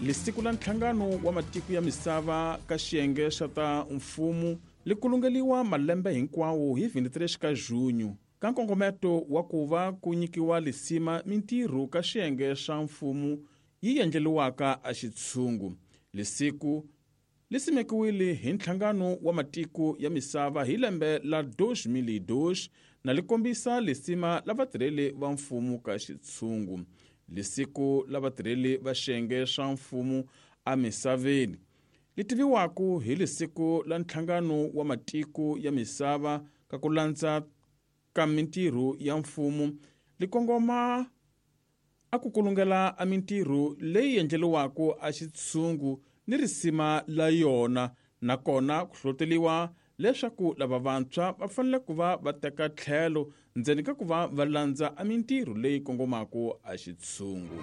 Lisiku la Nhlangano wa Matiko ya Misava ka xiyenge xa ta mfumo li kulungeliwa malembe hinkwawo hi 23 ka Junho ka nkongometo wa ku va ku nyikiwa lisima mintirho ka xiyenge xa mfumo yi endleliwaka a xitshungu. Lisiku li simekiwile hi Nhlangano wa Matiko ya Misava hi lembe la 2002 na li kombisa lisima la vatirheli va mfumo ka xitshungu. Lisiku la vatirheli va xiyenge xa mfumo emisaveni li tiviwaka hi Lisiku la Nhlangano wa Matiko ya Misava ka ku landza ka mintirho ya mfumo li kongoma a ku kulungela a mintirho leyi endleriwaka a xitshungu ni risima la yona, nakona ku hlohloteliwa leswaku lava vantshwa va fanele ku va va teka tlhelo ndzeni ka ku va va landza a mintirho leyi kongomaka a xitshungu.